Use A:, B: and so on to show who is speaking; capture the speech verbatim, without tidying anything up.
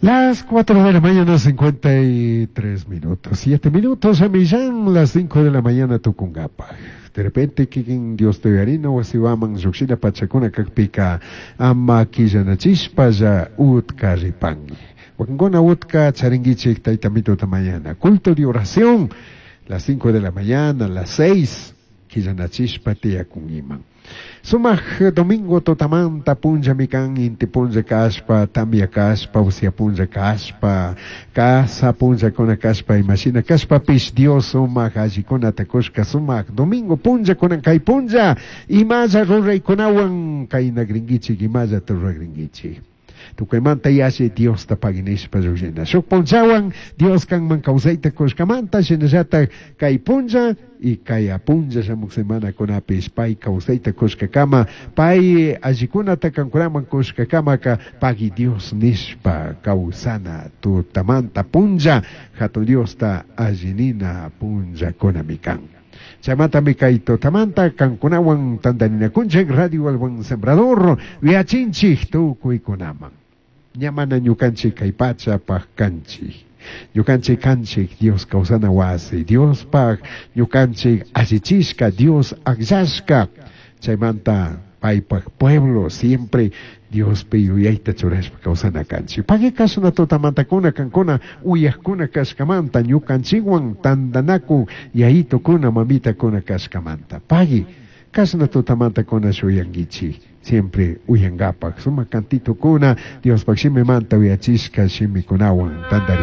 A: Las cuatro de la mañana, cincuenta y tres minutos. siete minutos a millán, las cinco de la mañana tucungapa. De repente, kikin Dios te uyarina wasiwaman llujshina pachakuna kakpika ama quillanachishpalla utka ripangi. Wakinkuna utka charinguichik tayta mituta mañana. Culto de oración, las cinco de la mañana, las seis, quillanachishpa tiyakungiman. Sumak domingo tutamanta punllami kan, inti punlla kashpa, tamia kashpa, usia punlla kashpa, casa punllakuna kashpa, imashina kashpapish Dios sumak allikunata kushka sumak domingo punlla kunan kay punlla, imalla ruraykunawan kaynagringuichik, imallata ruragringuichik. Tukuymanta yalli Diosta paginishpa llullina. Shuk punllawan Dios kanman kawsayta kushkamanta, shinallatak kay punlla y kay apunlla shamuk semanakunapish pay kawsayta kushkakama, pay allikunata kankunaman kushkakamaka pagui Dios nishpa kawsana tutamanta punlla hatun Diosta allinina punllakunami kan. Chaymantami kay tutamanta kankunawan tantarinakunchik Radio El Buen Sembrador yachinchik tukuykunaman. Ña mana ñukanchik kay pachapaj kanchik. Ñukanchik kanchik Dios kawsana wasi, Diospaj ñukanchik allichishka, Dios akllashka. Chaymanta paypaj pueblo siempre Diospi yuyayta churashpa kawsana kanchik. Pagui kashna tutamantakuna kankuna uyajkuna kashkamanta ñukanchikwan tantanakun yayitukuna mamitakuna kashkamanta. Pagui kashna tutamantakuna shuyankichik. Siempre uyangapak sumak cantitukuna Diospaj shimimanta uyachishka shimikunawan tantari.